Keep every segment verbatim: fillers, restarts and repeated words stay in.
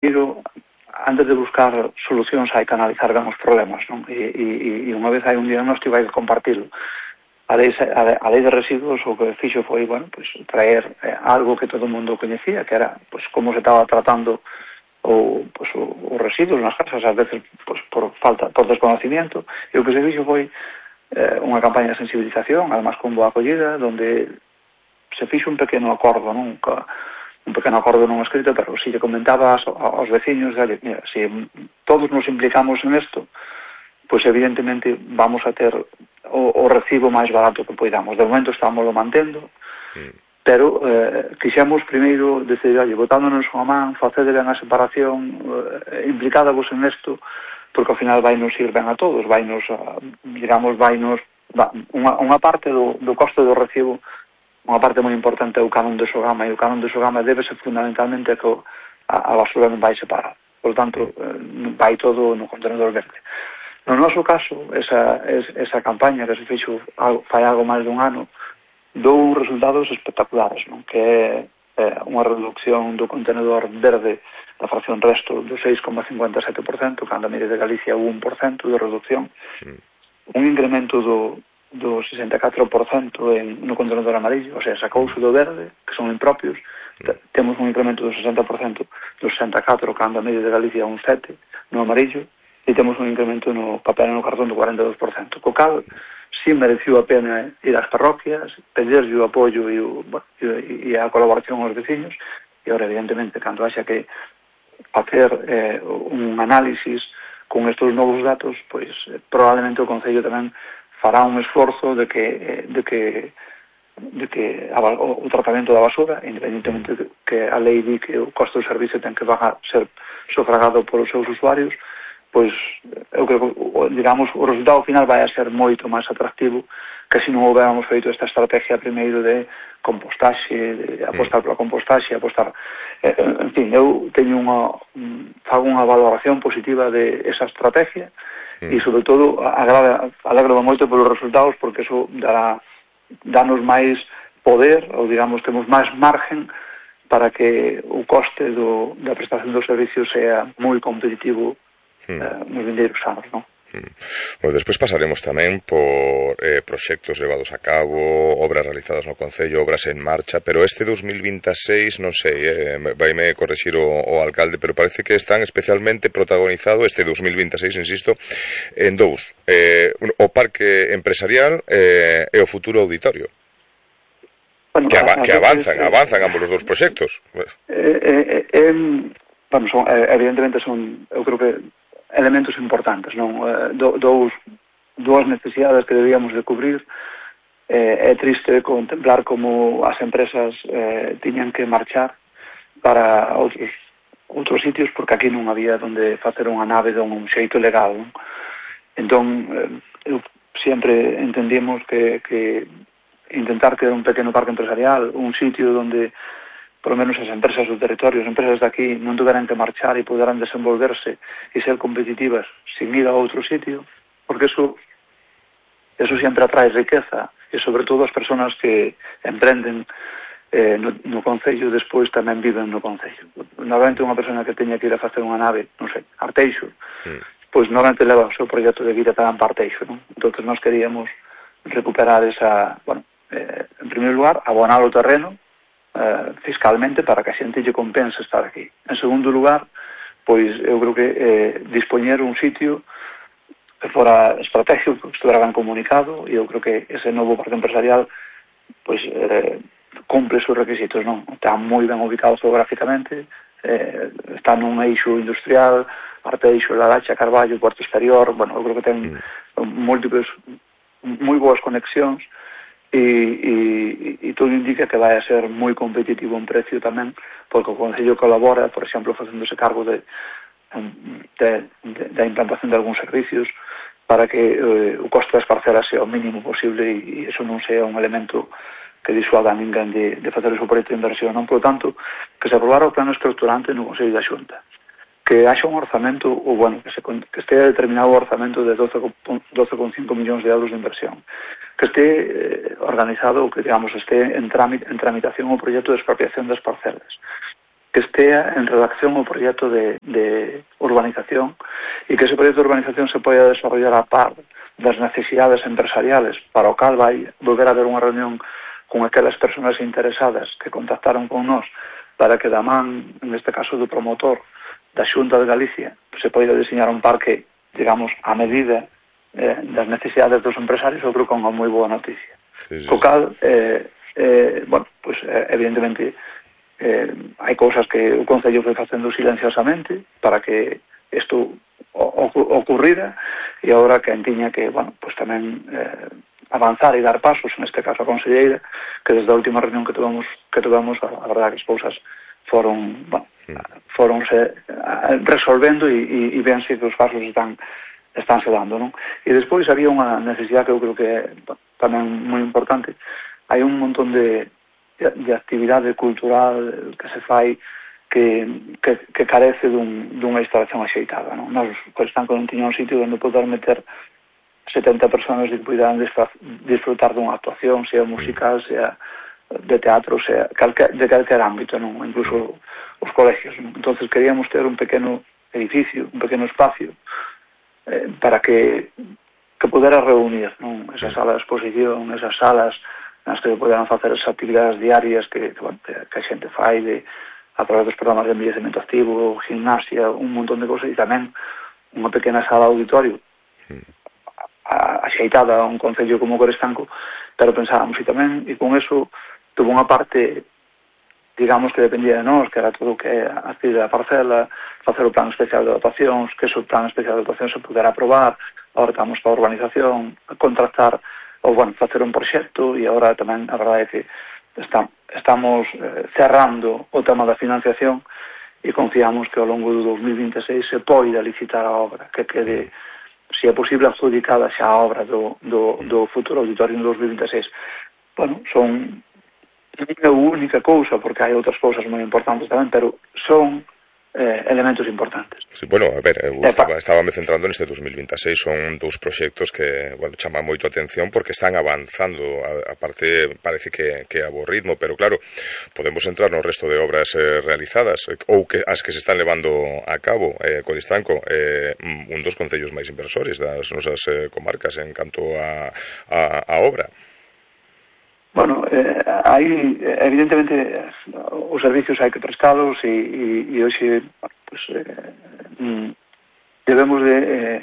primeiro, antes de buscar solucións, hai que analizar ben os problemas, non? E, e, e unha vez hai un diagnóstico, hai que compartirlo. A lei, a, a lei de residuos o que fixo foi, bueno, pues, traer eh, algo que todo o mundo coñecía, que era pues, como se estaba tratando o, pues, o, os residuos nas casas, ás veces pues, por falta, por desconocimiento, e o que se fixo foi eh, unha campaña de sensibilización, además con boa acollida, donde se fixo un pequeno acordo, non? un pequeno acordo non escrito, pero si lle comentaba aos, aos veciños, dale, mira, se todos nos implicamos en isto, pois evidentemente vamos a ter o, o recibo máis barato que poidamos. De momento estamos lo mantendo, mm. pero eh, quixemos primeiro decidir, oye, botándonos unha man, facede ben a separación, eh, implicádavos en isto, porque ao final vai nos ir ben a todos, vai nos, a, digamos, vai nos, va, unha, unha parte do, do coste do recibo, unha parte moi importante é o canon de Sogama, e o canon de Sogama débese fundamentalmente a que a, a basura non vai separar. Por tanto, eh, vai todo no contenedor verde. No noso caso, esa, esa campaña que se fixo fai algo máis dun ano, dou resultados espectaculares, non? Que é eh, unha reducción do contenedor verde da fracción resto do seis coma cincuenta e sete por cento, cando a media de Galicia o un por cento de reducción, mm. un incremento do, do sesenta e catro por cento en, no contenedor amarillo, o sea, sacouse do verde, que son impropios, mm. temos un incremento do sesenta por cento do sesenta e catro por cento, cando a media de Galicia un sete por cento no amarillo, e temos un incremento no papel e no cartón do cuarenta e dos por cento. Co cal, si mereceu a pena ir ás parroquias, pedirlle o apoio e, o, e, e a colaboración aos veciños, e ahora, evidentemente, cando haxa que facer eh, un análisis con estes novos datos, pois eh, probablemente o Concello tamén fará un esforzo de que, eh, de que de que a, o, o tratamento da basura, independentemente de que a lei di que o costo do servicio ten que bajar, ser sufragado polos seus usuarios, pois eu creo que, digamos, o resultado final vai a ser moito máis atractivo que se non houbéramos feito esta estrategia primeiro de compostaxe, de apostar pola compostaxe, apostar... Eh, en fin, eu teño unha... fago unha valoración positiva de esa estrategia e, sobre todo, alegro moito polos resultados porque eso dará danos máis poder, ou, digamos, temos máis margen para que o coste do, da prestación dos servicios sea moi competitivo Uh, nos vindeiros anos, non? Bueno, despois pasaremos tamén por eh, proxectos levados a cabo, obras realizadas no Concello, obras en marcha, pero este dos mil veintiséis, non sei, eh, vaime correxir o, o alcalde, pero parece que están especialmente protagonizado este dos mil veintiséis, insisto, en dous, eh, o parque empresarial eh, e o futuro auditorio. Bueno, que, ava que avanzan, que, avanzan ambos os dous proxectos. Eh, eh, eh, bueno, son, eh, evidentemente son, eu creo que elementos importantes, non? Do, dous, dúas necesidades que debíamos de cubrir. Eh, é triste contemplar como as empresas eh, tiñan que marchar para outros outros sitios porque aquí non había onde facer unha nave de un xeito legal, non? Entón, eh, eu sempre entendimos que, que intentar ter un pequeno parque empresarial, un sitio onde por lo menos as empresas do territorio, as empresas de aquí non tuveran que marchar e poderán desenvolverse e ser competitivas sin ir a outro sitio, porque eso eso sempre atrae riqueza e sobre todo as persoas que emprenden eh, no, no Concello despois tamén viven no Concello. Normalmente unha persona que teña que ir a facer unha nave, non sei, Arteixo, sí. pois normalmente leva o seu proxecto de vida para Arteixo, non? Entón nós queríamos recuperar esa, bueno, eh, en primeiro lugar, abonar o terreno Uh, fiscalmente para que a xente lle compense estar aquí. En segundo lugar, pois eu creo que eh, dispoñer un sitio que fora estratégico, que estuvera ben comunicado, e eu creo que ese novo parque empresarial pois eh, cumple os seus requisitos, non? Está moi ben ubicado geográficamente, eh, está nun eixo industrial, Arteixo, Laracha, Carballo, Puerto Exterior, bueno, eu creo que ten múltiples, moi boas conexións, E, e, e todo indica que vai a ser moi competitivo en precio tamén, porque o Concello colabora, por exemplo, facéndose cargo de, de, de, de implantación de algúns servicios para que eh, o coste das parcelas sea o mínimo posible e, e eso non sea un elemento que disuada a ninguén de, de facer o seu proxecto de inversión. Non, por tanto, que se aprobara o plano estructurante no Concello da Xunta, que haxa un orzamento, ou bueno, que, se, que estea determinado o orzamento de doce coma cinco millóns de euros de inversión, que este eh, organizado, ou que, digamos, este en, trámite, en tramitación o proxecto de expropiación das parcelas, que estea en redacción o proxecto de, de urbanización e que ese proxecto de urbanización se poida desarrollar a par das necesidades empresariales, para o cal vai volver a haber unha reunión con aquelas persoas interesadas que contactaron con nós para que da man, neste caso do promotor da Xunta de Galicia, se poida diseñar un parque, digamos, a medida eh, das necesidades dos empresarios. Eu creo que é unha moi boa noticia. Sí, sí. Co cal, eh, eh, bueno, pues, eh, evidentemente eh, hai cousas que o Concello foi facendo silenciosamente para que isto ocurrira, e agora que tiña que, bueno, pues tamén eh, avanzar e dar pasos, neste caso a conselleira, que desde a última reunión que tuvemos, que tuvemos a, a verdade que as cousas foron, bueno, foronse resolvendo e, e, e vense que os pasos están estánse dando, non? E despois había unha necesidade que eu creo que é tamén moi importante. Hai un montón de, de actividade cultural que se fai que, que, que carece dun, dunha instalación axeitada, non? Nos, pois, están con un tiñón sitio onde poder meter setenta personas que puidan disfrutar dunha actuación, sea musical, sea de teatro, sea calque, de calquer ámbito, non? Incluso os colegios, non? Entonces queríamos ter un pequeno edificio, un pequeno espacio eh, para que que pudera reunir, non? Esa sala de exposición, esas salas nas que poderan facer esas actividades diarias que, que, bueno, que a xente fai de a través dos programas de envellecemento activo, gimnasia, un montón de cosas, e tamén unha pequena sala de auditorio axeitada a un concello como Coristanco, pero pensábamos, e tamén, e con eso tuvo unha parte, digamos, que dependía de nós, que era todo o que adquirir a parcela, facer o plan especial de dotacións, que ese plan especial de dotacións se pudera aprobar, agora estamos para a urbanización, contratar, ou, bueno, facer un proxecto, e agora tamén, a verdade é que está, estamos eh, cerrando o tema da financiación e confiamos que ao longo do dos mil vinte e seis se poida licitar a obra, que quede, se é posible, adjudicada xa a obra do, do, do futuro auditorio no dos mil vinte e seis. Bueno, son a única cousa, porque hai outras cousas moi importantes tamén, pero son eh, elementos importantes. Sí, bueno, a ver, eu estaba, estaba me centrando neste dos mil vinte e seis, son dous proxectos que, bueno, chaman moito a atención porque están avanzando, a, a parte parece que, que a bo ritmo, pero claro, podemos entrar no resto de obras eh, realizadas, ou que as que se están levando a cabo. eh, Coristanco, eh, un dos concellos máis inversores das nosas eh, comarcas en canto a, a, a obra. Bueno, eh, hai, evidentemente, os servicios hai que prestalos e, e, e hoxe, pues, eh, debemos de eh,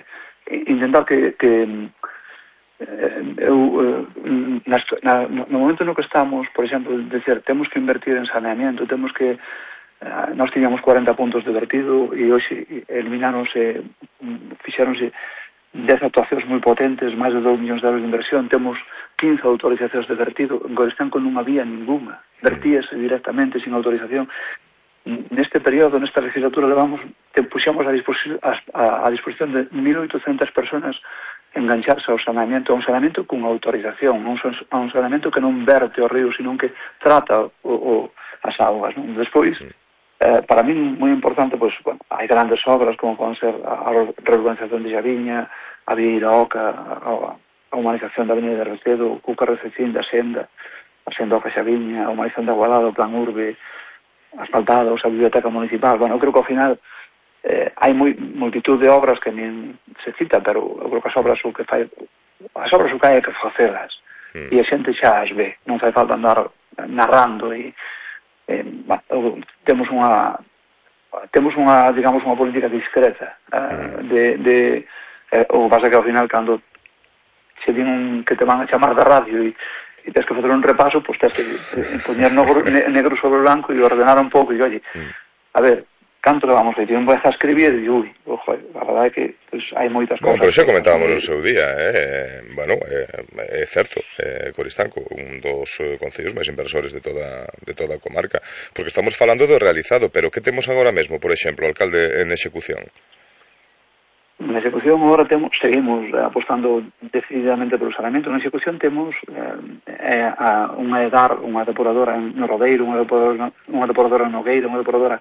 intentar que, que eh, eu, eh, na, na, no momento no que estamos, por exemplo, decir, temos que invertir en saneamiento, temos que, eh, nós tiñamos cuarenta puntos de vertido e hoxe elimináronse, fixéronse dez actuacións moi potentes, máis de dous millóns de euros de inversión, temos quince autorizacións de vertido, en Coristanco non había ninguna, vertíase directamente sin autorización. Neste período, nesta legislatura, levamos, te puxamos a disposición, a, a disposición de mil oitocentas personas engancharse ao saneamento, a un saneamento con autorización, a un, a un saneamento que non verte o río, sino que trata o, o, as augas, non? Despois, eh, para mí, moi importante, pois, bueno, hai grandes obras, como poden ser a, a reurbanización de Xaviña, a Vieira Oca, a, a humanización da Avenida de Recedo, o Cuca Rececín da Senda, a Senda Oca Xaviña, a humanización da Agualada, o Plan Urbe, asfaltados, a Biblioteca Municipal. Bueno, eu creo que ao final eh, hai moi, multitud de obras que nin se cita, pero eu creo que as obras o que fai, as obras o que hai é que facelas, mm. e a xente xa as ve, non fai falta andar narrando e eh, bueno, temos unha temos unha, digamos, unha política discreta eh, de, de eh, o que pasa que ao final cando se din un, que te van a chamar da radio e, e tens que facer un repaso, pois tens que eh, poñer negro, negro sobre blanco e ordenar un pouco e, oye, a ver, canto que vamos a ir, eu empiezo a escribir e ui, ojo, a verdade é que pues, hai moitas bueno, cousas. Pero xa comentábamos no seu día, eh? bueno, é eh, certo, eh, Coristanco, un dos eh, concellos máis inversores de toda, de toda a comarca, porque estamos falando do realizado, pero que temos agora mesmo, por exemplo, alcalde, en execución? Na execución agora temos, seguimos apostando decididamente polo saneamento. Na execución temos eh, a, unha EDAR, unha depuradora no Rodeiro, unha depuradora, unha depuradora no Nogueira, unha depuradora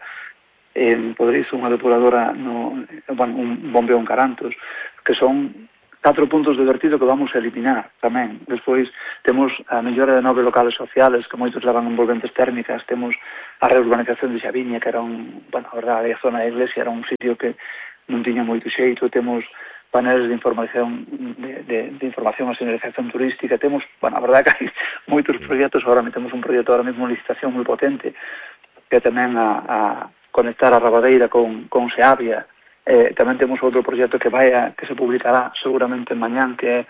en Podrizo, unha depuradora no, bueno, un bombeo en Carantos, que son catro puntos de vertido que vamos a eliminar tamén. Despois temos a mellora de nove locales sociales que moitos levan envolventes térmicas, temos a reurbanización de Xaviña, que era un, bueno, a verdade, a zona da iglesia era un sitio que non tiña moito xeito, temos paneles de información de, de, de información a señalización turística, temos, bueno, a verdade que hai moitos proxectos, agora temos un proxecto ahora mesmo en licitación moi potente, que tamén a, a conectar a Rabadeira con, con Seabia. Eh, tamén temos outro proxecto que vai a, que se publicará seguramente mañán, que é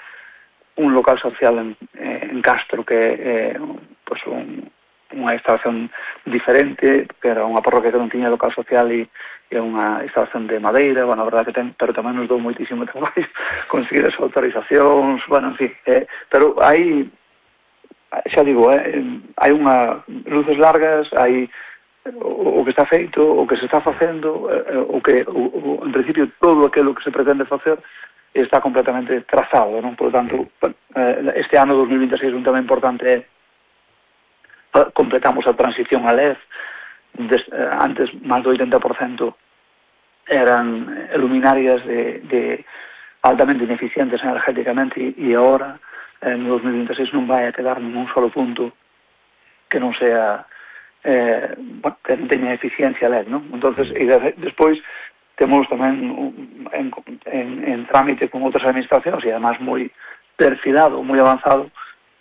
un local social en, eh, en Castro, que é eh, pues un, unha instalación diferente, que era unha parroquia que non tiña local social e é unha instalación de madeira, bueno, a verdade que ten, pero tamén nos dou moitísimo traballo conseguir as autorizacións, bueno, en fin, eh, pero hai, xa digo, eh, hai unha luces largas, hai o que está feito, o que se está facendo, o que, o, o, en principio, todo aquilo que se pretende facer está completamente trazado, non? Por lo tanto, este ano dos mil vinte e seis un tema importante é completamos a transición a L E D. Des, antes, máis do oitenta por cento eran luminarias de, de altamente ineficientes energéticamente e agora, en dos mil vinte e seis, non vai a quedar ningún solo punto que non sea Eh, bueno, que non teña eficiencia L E D, non? Entonces, e de, despois temos tamén en, en, en trámite con outras administracións e además moi perfilado, moi avanzado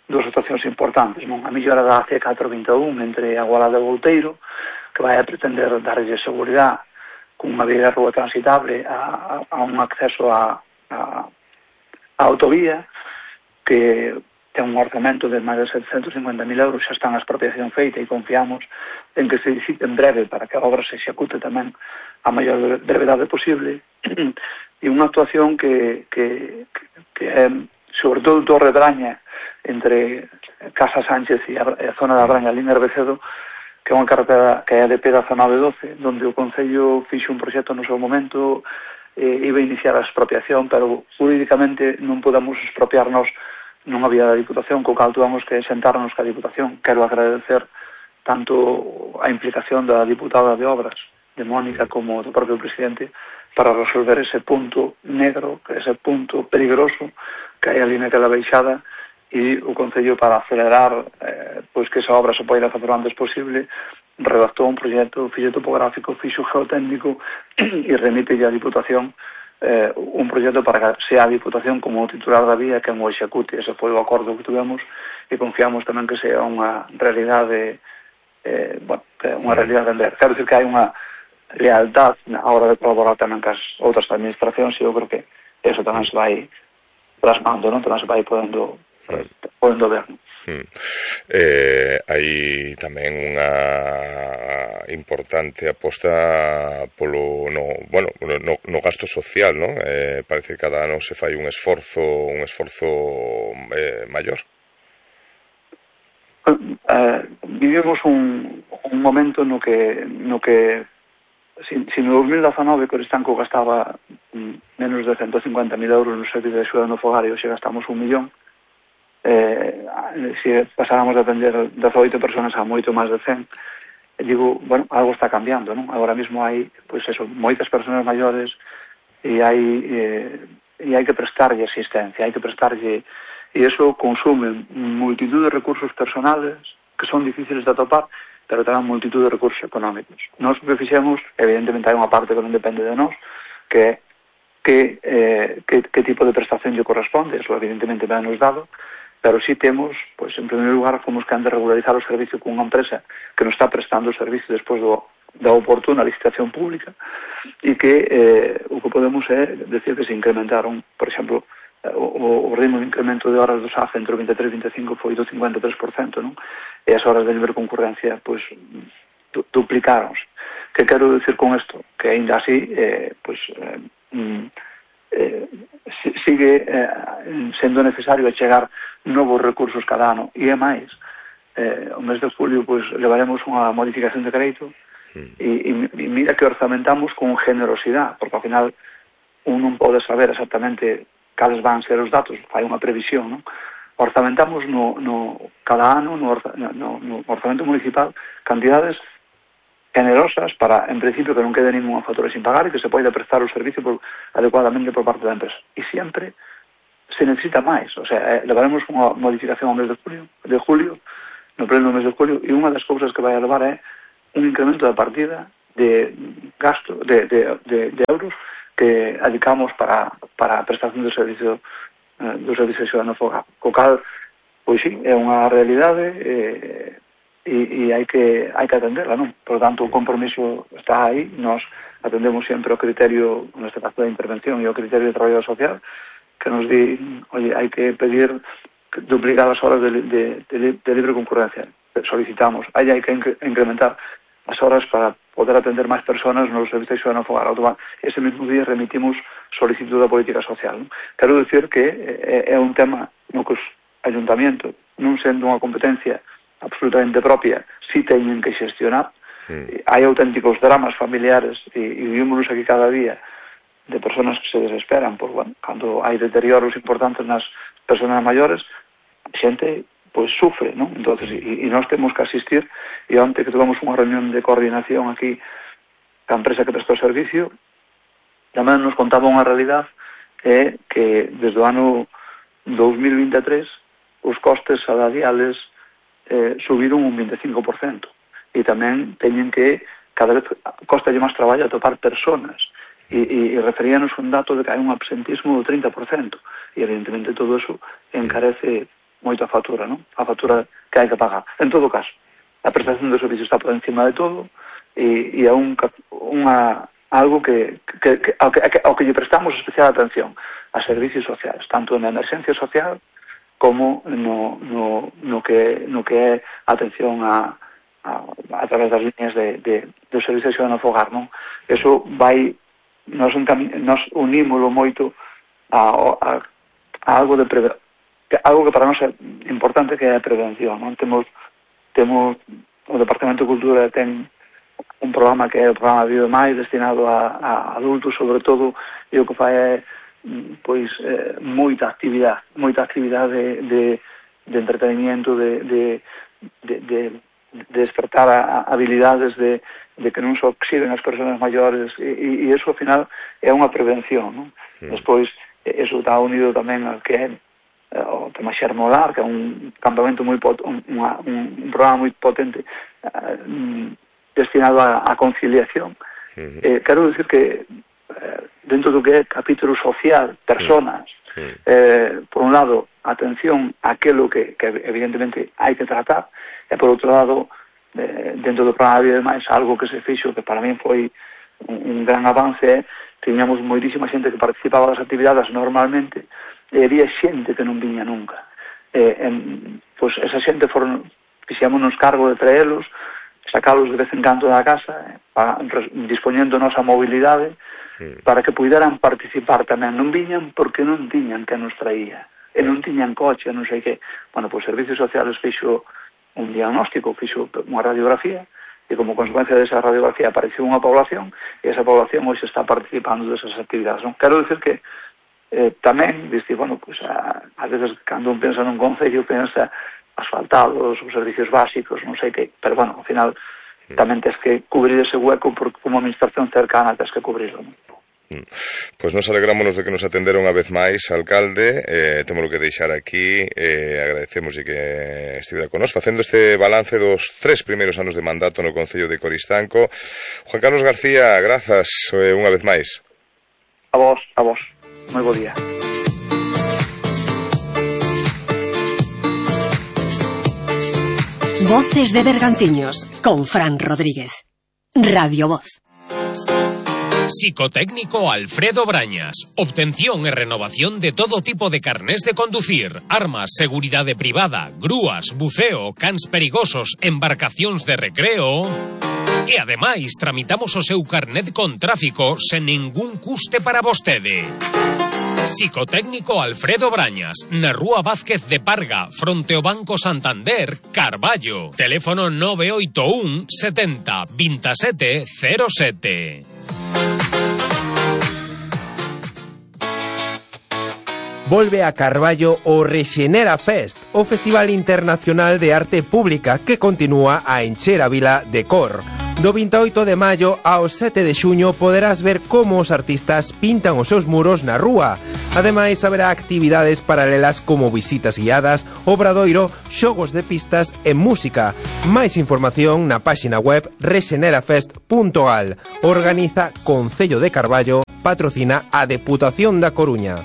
dos situacións importantes, non? A mellora da C catro vinte e un entre Agualada e Volteiro, que vai a pretender darlle seguridade con unha vía de rúa transitable a, a, a un acceso a, a, a autovía, que ten un orzamento de máis de setecentos cincuenta mil euros, xa está na expropiación feita e confiamos en que se licite en breve para que a obra se execute tamén a maior brevedade posible. E unha actuación que, que, que é, sobre todo, Torre Braña, entre Casa Sánchez e a, a zona da Braña, a línea Arbecedo, que é unha carretera que é de pedazo nove doce, donde o Concello fixe un proxecto no seu momento, eh, iba a iniciar a expropiación, pero jurídicamente non podemos expropiarnos non había da Diputación, co cal tuvamos que sentarnos ca Diputación. Quero agradecer tanto a implicación da diputada de Obras, de Mónica, como do propio presidente, para resolver ese punto negro, ese punto peligroso que hai ali naquela baixada, e o Concello, para acelerar eh, pois que esa obra se poida facer o antes posible, redactou un proxecto, fixo topográfico, fixo geotécnico e remite a Diputación Eh, un proxecto para que sea a Diputación como o titular da vía que o execute. Ese foi o acordo que tuvemos e confiamos tamén que sea unha realidade eh, bueno, que unha realidade en ver. Quero dicir que hai unha lealtad na hora de colaborar tamén cas outras administracións e eu creo que eso tamén se vai plasmando, non? Tamén se vai podendo, podendo ver, non? Hmm. Eh, hai tamén unha importante aposta polo no, bueno, no, no gasto social, non? Eh, parece que cada ano se fai un esforzo un esforzo eh, maior. Eh, vivimos un, un momento no que no que si, si no dos mil dezanove Coristanco gastaba menos de ciento cincuenta mil euros no servicio de axuda no fogar e hoxe gastamos un millón. Eh, se pasáramos de atender dezoito persoas a moito máis de cen, digo, bueno, algo está cambiando, non? Agora mesmo hai, pois eso, moitas persoas maiores e hai eh, e hai que prestarlle asistencia, hai que prestarlle, e iso consume multitud de recursos personales que son difíciles de atopar, pero tamén multitud de recursos económicos. Nós que fixemos, evidentemente hai unha parte que non depende de nós, que é que, eh, que, que tipo de prestación lle corresponde, eso evidentemente ben nos dado, pero si temos, pois, en primeiro lugar, fomos que han de regularizar o servicio con unha empresa que nos está prestando o servicio despois do, da oportuna licitación pública e que eh, o que podemos é decir que se incrementaron, por exemplo, o, o ritmo de incremento de horas do S A F entre o vinte e tres e vinte e cinco foi do cincuenta e tres por cento, non? E as horas de libre concurrencia, pois, du duplicaronse. Que quero decir con isto? Que ainda así, eh, pois, eh, mm, eh, sigue eh, sendo necesario chegar novos recursos cada ano e é máis. Eh, o mes de julio pois levaremos unha modificación de crédito e, e, e mira que orzamentamos con generosidade, porque ao final un non pode saber exactamente cales van ser os datos, fai unha previsión, non? Orzamentamos no, no, cada ano no, no, no orzamento municipal cantidades generosas para, en principio, que non quede ninguna factura sin pagar e que se poida prestar o servicio por, adecuadamente por parte da empresa. E sempre se necesita máis, o sea, levaremos unha modificación ao mes de julio, de julio, no pleno mes de julio, e unha das cousas que vai a levar é un incremento da partida de gasto, de, de, de, de euros que adicamos para, para a prestación do servicio eh, do servicio ciudadano fogar. Co cal, pois sí, é unha realidade eh, e, e hai que hai que atenderla, non? Por tanto, o compromiso está aí, nós atendemos sempre o criterio, neste caso da intervención e o criterio de traballo social, que nos di, oye, hai que pedir duplicar as horas de, de, de, de libre concurrencia. Solicitamos, aí hai que incrementar as horas para poder atender máis persoas nos servicios ciudadanos fogar. Ese mesmo día remitimos solicitud da política social. Non? Quero dicir que é, é un tema no que os ayuntamientos, non sendo unha competencia absolutamente propia, si teñen que xestionar. Sí. Hai auténticos dramas familiares e, e vivimos aquí cada día de personas que se desesperan por, bueno, cando hai deterioros importantes nas personas maiores, xente pois sufre, non? Entonces, e, e nós temos que asistir, e onte que tuvemos unha reunión de coordinación aquí ca empresa que prestou servicio, tamén nos contaba unha realidade é que desde o ano dos mil vinte e tres os costes salariales eh, subiron un vinte e cinco por cento e tamén teñen que cada vez costa máis traballo atopar personas e, e, e referíanos un dato de que hai un absentismo do trinta por cento e evidentemente todo eso encarece moito a factura, non? A factura que hai que pagar. En todo caso, a prestación do servicio está por encima de todo e, e é un, unha, algo que, que, que, ao, que, ao que lle prestamos especial atención a servicios sociales, tanto na emergencia social como no, no, no, que, no que é atención a, a, a través das líneas de, de, do servicio ciudadano fogar, non? Eso vai, nos, nos unímolo moito a, a, a algo de prevención, algo que para nós é importante, que é a prevención, non? Temos, temos o Departamento de Cultura ten un programa que é o programa Vive Máis, destinado a, a adultos, sobre todo, e o que fai é pois eh, moita actividade, moita actividade de, de, de entretenimiento, de, de, de, de, de despertar a, a habilidades de, de que non se oxiden as persoas maiores, e, e eso, ao final, é unha prevención, non? Sí. Despois, eso está unido tamén ao que é o tema Xermolar, que é un campamento moi pot, un, un, un programa moi potente uh, destinado a, a conciliación. Uh-huh. eh, quero dicir que eh, dentro do que é capítulo social, personas, uh-huh. eh, por un lado, atención a aquilo que, que evidentemente hai que tratar, e por outro lado, eh, dentro do programa Vida Máis, algo que se fixo, que para mí foi un, un gran avance, tiñamos moitísima xente que participaba das actividades normalmente, e había xente que non viña nunca. Eh, en, pois esa xente foron, fixémonos cargo de traelos, sacalos de vez en canto da casa, eh, para, dispoñendo nosa mobilidade, sí, para que puderan participar tamén. Non viñan porque non tiñan que nos traía, e non tiñan coche, non sei que. Bueno, pois Servicios Sociales fixo un diagnóstico, fixo unha radiografía, e como consecuencia desa radiografía apareceu unha población, e esa población hoxe está participando desas actividades. Non? Quero dicir que Eh, tamén, diste, bueno, pues, a, a veces cando un pensa nun concello pensa asfaltados, os servicios básicos, non sei que, pero bueno, ao final mm. tamén tens que cubrir ese hueco porque como administración cercana tens que cubrirlo, non? Pois nos alegrámonos de que nos atenderon unha vez máis, alcalde, eh, temos que deixar aquí, eh, agradecemos e que estivera con nos facendo este balance dos tres primeiros anos de mandato no Concello de Coristanco. Juan Carlos García, grazas eh, unha vez máis. A vos, a vos. Moi bo día. Voces de Bergantiños con Fran Rodríguez. Radio Voz. Psicotécnico Alfredo Brañas. Obtención e renovación de todo tipo de carnés de conducir, armas, seguridade privada, grúas, buceo, cans perigosos, embarcacións de recreo. E ademais tramitamos o seu carnet con tráfico sen ningún custe para vostede. Psicotécnico Alfredo Brañas, na Rúa Vázquez de Parga, fronte ao Banco Santander, Carballo. Teléfono nove oito un setenta veintisiete cero sete. Volve a Carballo o Rexenera Fest, o Festival Internacional de Arte Pública que continúa a encher a vila de cor. Do vinte e oito de maio ao sete de xuño poderás ver como os artistas pintan os seus muros na rúa. Ademais, haberá actividades paralelas como visitas guiadas, obradoiro, xogos de pistas e música. Máis información na páxina web rexenerafest punto gal. Organiza Concello de Carballo, patrocina a Deputación da Coruña.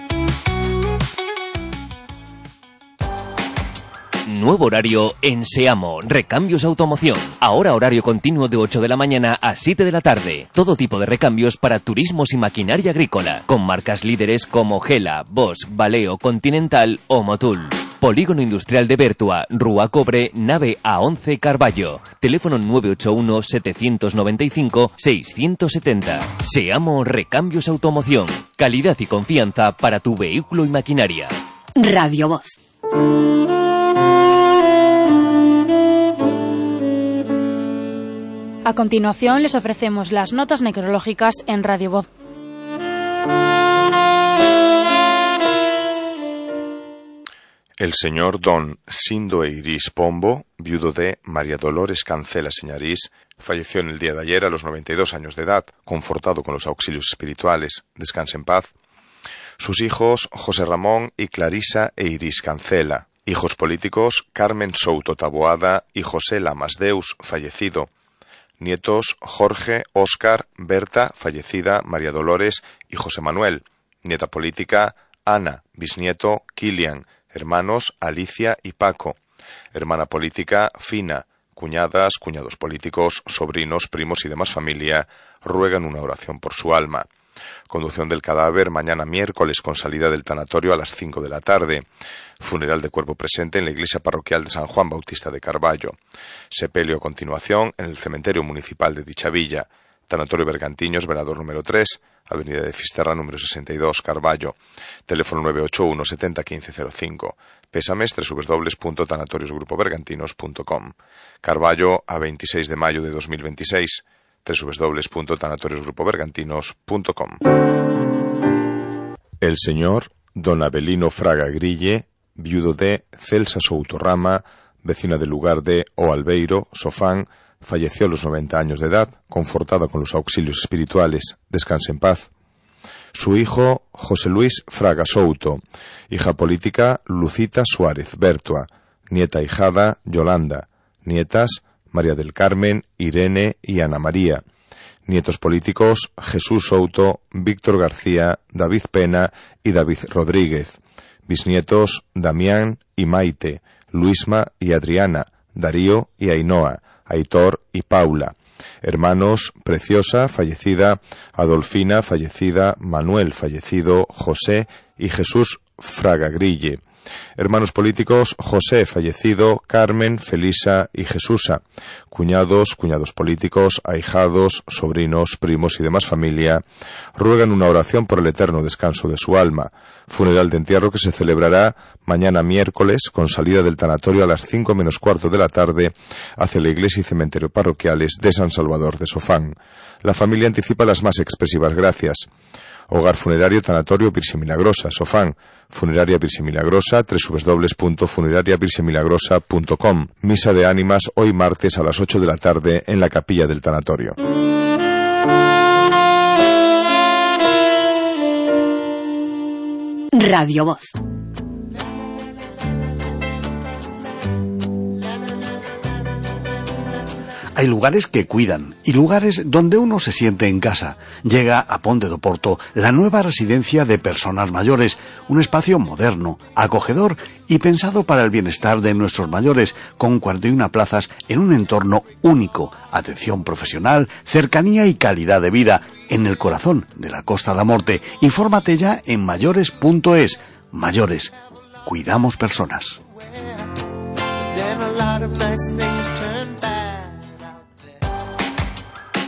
Nuevo horario en Seamo, Recambios Automoción. Ahora horario continuo de ocho de la mañana a siete de la tarde. Todo tipo de recambios para turismos y maquinaria agrícola, con marcas líderes como Gela, Bosch, Valeo, Continental o Motul. Polígono Industrial de Bertua, Rúa Cobre, nave A once Carballo. Teléfono nueve ocho uno, siete nueve cinco, seis siete cero. Seamo Recambios Automoción. Calidad y confianza para tu vehículo y maquinaria. Radio Voz. A continuación les ofrecemos las notas necrológicas en Radio Voz. El señor don Sindo Eiris Pombo, viudo de María Dolores Cancela Señarís, falleció en el día de ayer a los noventa y dos años de edad, confortado con los auxilios espirituales. Descanse en paz. Sus hijos, José Ramón y Clarisa Eiris Cancela. Hijos políticos, Carmen Souto Taboada y José Lamasdeus, fallecido. Nietos, Jorge, Óscar, Berta, fallecida, María Dolores y José Manuel. Nieta política, Ana, bisnieto, Kilian. Hermanos, Alicia y Paco. Hermana política, Fina. Cuñadas, cuñados políticos, sobrinos, primos y demás familia ruegan una oración por su alma. Conducción del cadáver mañana miércoles con salida del tanatorio a las cinco de la tarde. Funeral de cuerpo presente en la iglesia parroquial de San Juan Bautista de Carballo. Sepelio a continuación en el cementerio municipal de dicha villa. Tanatorio Bergantiños, Verador número tres, Avenida de Fisterra número sesenta y dos, Carballo. Teléfono nueve ocho uno, setenta, quince cero cinco. Pésames doble u doble u doble u punto tanatorios grupo bergantinos punto com. Carballo a veintiséis de mayo de dos mil veintiséis. doble u doble u doble u punto tanatorios grupo bergantinos punto com. El señor don Abelino Fraga Grille, viudo de Celsa Soutorrama, vecina del lugar de O Albeiro, Sofán, falleció a los noventa años de edad, confortada con los auxilios espirituales. Descanse en paz. Su hijo, José Luis Fraga Souto. Hija política, Lucita Suárez Bertua. Nieta hijada, Yolanda. Nietas, María del Carmen, Irene y Ana María. Nietos políticos, Jesús Souto, Víctor García, David Pena y David Rodríguez. Bisnietos, Damián y Maite, Luisma y Adriana, Darío y Ainhoa, Aitor y Paula. Hermanos, Preciosa, fallecida, Adolfina, fallecida, Manuel, fallecido, José y Jesús Fraga Grille. Hermanos políticos, José, fallecido, Carmen, Felisa y Jesusa. Cuñados, cuñados políticos, ahijados, sobrinos, primos y demás familia ruegan una oración por el eterno descanso de su alma. Funeral de entierro que se celebrará mañana miércoles con salida del tanatorio a las cinco menos cuarto de la tarde hacia la iglesia y cementerio parroquiales de San Salvador de Sofán. La familia anticipa las más expresivas gracias. Hogar Funerario Tanatorio Virgen Milagrosa, Sofán. Funeraria Virgen Milagrosa, doble u doble u doble u punto funeraria virgen milagrosa punto com. Misa de ánimas hoy martes a las ocho de la tarde en la capilla del tanatorio. Radio Voz. Hay lugares que cuidan y lugares donde uno se siente en casa. Llega a Ponte do Porto la nueva residencia de personas mayores, un espacio moderno, acogedor y pensado para el bienestar de nuestros mayores, con cuarenta y una plazas en un entorno único, atención profesional, cercanía y calidad de vida, en el corazón de la Costa da Morte. Infórmate ya en mayores punto es. Mayores, cuidamos personas.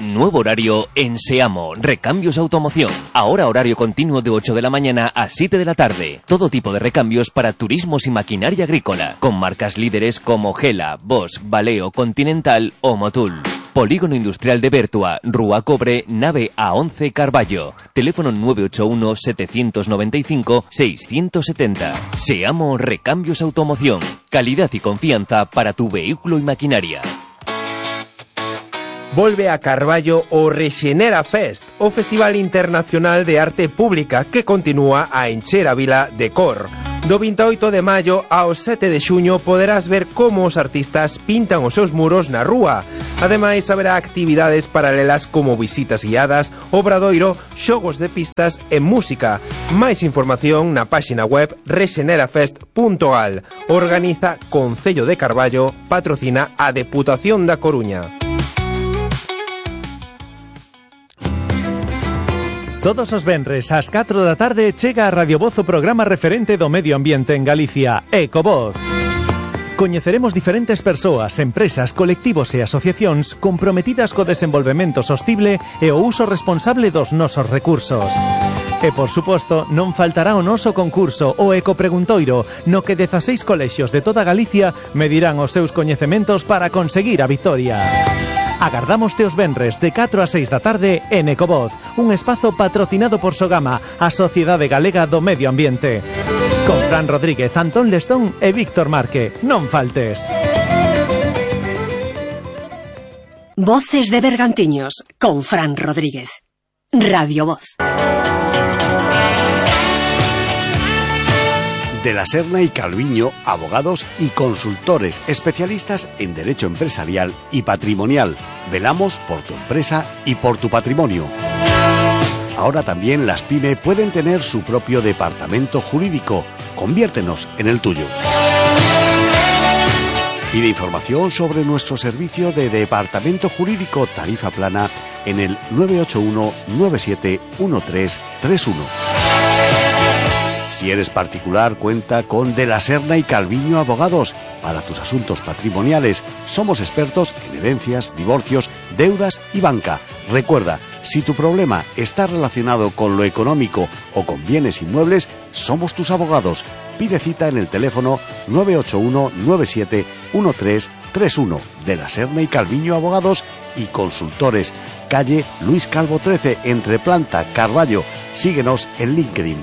Nuevo horario en Seamo, Recambios Automoción. Ahora horario continuo de ocho de la mañana a siete de la tarde. Todo tipo de recambios para turismos y maquinaria agrícola, con marcas líderes como Gela, Bosch, Valeo, Continental o Motul. Polígono Industrial de Bertua, Rúa Cobre, nave A once Carballo. Teléfono nueve ocho uno, siete nueve cinco, seis siete cero. Seamo Recambios Automoción. Calidad y confianza para tu vehículo y maquinaria. Volve a Carballo o Rexenera Fest, o Festival Internacional de Arte Pública que continúa a encher a vila de cor. Do vinte e oito de maio ao sete de xuño poderás ver como os artistas pintan os seus muros na rúa. Ademais, haberá actividades paralelas como visitas guiadas, obradoiro, xogos de pistas e música. Máis información na páxina web rexenerafest punto gal. Organiza Concello de Carballo, patrocina a Deputación da Coruña. Todos os venres ás catro da tarde chega a Radio Voz o programa referente do medio ambiente en Galicia, Ecovoz. Coñeceremos diferentes persoas, empresas, colectivos e asociacións comprometidas co desenvolvemento sostible e o uso responsable dos nosos recursos. E, por suposto, non faltará o noso concurso, o Ecopreguntoiro, no que dezaseis colexios de toda Galicia medirán os seus coñecementos para conseguir a vitoria. Agardámoste os venres de catro a seis da tarde en Ecovoz, un espazo patrocinado por Sogama, a Sociedade Galega do Medio Ambiente. Con Fran Rodríguez, Antón Lestón e Víctor Marque. Non faltes. Voces de Bergantiños, con Fran Rodríguez. Radio Voz. De la Serna y Calviño, abogados y consultores especialistas en derecho empresarial y patrimonial. Velamos por tu empresa y por tu patrimonio. Ahora también las PYME pueden tener su propio departamento jurídico. Conviértenos en el tuyo. Pide información sobre nuestro servicio de departamento jurídico tarifa plana en el nueve ocho uno nueve siete uno tres tres uno. Si eres particular, cuenta con De la Serna y Calviño Abogados. Para tus asuntos patrimoniales, somos expertos en herencias, divorcios, deudas y banca. Recuerda, si tu problema está relacionado con lo económico o con bienes inmuebles, somos tus abogados. Pide cita en el teléfono nueve ocho uno nueve siete uno tres tres uno. De la Serna y Calviño Abogados y Consultores. Calle Luis Calvo trece, entre Planta, Carballo. Síguenos en LinkedIn.